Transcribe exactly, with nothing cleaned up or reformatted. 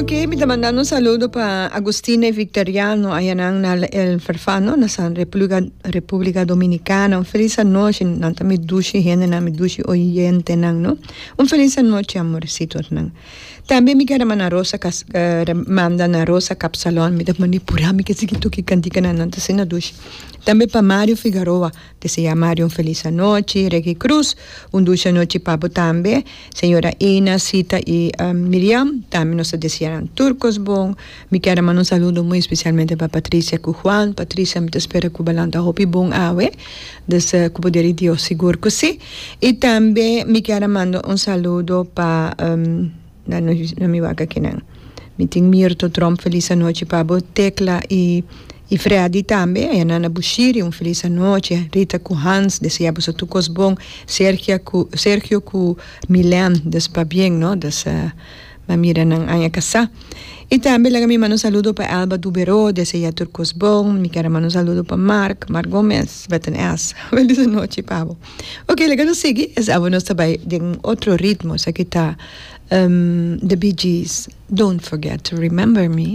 Ok, mi ta mandando un saludo pa Agustina y Victoriano, aya na El Farfano, na San República, República Dominicana. Un felis anochi, nan ta mi dushi hende, nan mi dushi oyente, nan, no? Un felis anochi, amorcito, nan. Tambe mi kier manda Rosa, uh, manda na Rosa Capsalon, mi ta manipulá mi ke sigui toka kantika nan, nan ta asina dushi. Tambe pa Mario Figueroa, desea Mario un felis anochi, Reggie Cruz, un dushi anochi pa bo tambe, señora Ina, Sita y um, Miriam, tambe nos ta desea tur kos bon. Mi kier manda un saludo muy especialmente pa Patricia ku Juan. Patricia, mi ta spera ku bo a lanta hopi bon awe, dus uh, ku poder di Dios sigur ku si. Y tambe mi kier manda un saludo pa um, na, na mi wak akinan. Mi tin Mirto Trump, felis anochi pa bo, Tecla y y Freddy tambe, y Nana Bushiri, un felis anochi, Rita ku Hans, desea bo tur kos bon, Sergio ku, Sergio ku Milan, dus pabien, no? Dus uh, m'a mira nan aña kasá. Y tambe laga mi manda un saludo pa Alba Dubero, desea tur kos bon, mi kier manda un saludo pa Mark, Mark Gomez, met een S. Felis anochi, pa bo. Ok, laga nos sigui, awor nos tambe den otro ritmo, esaki ta um, The Bee Gees, "Don't Forget to Remember Me".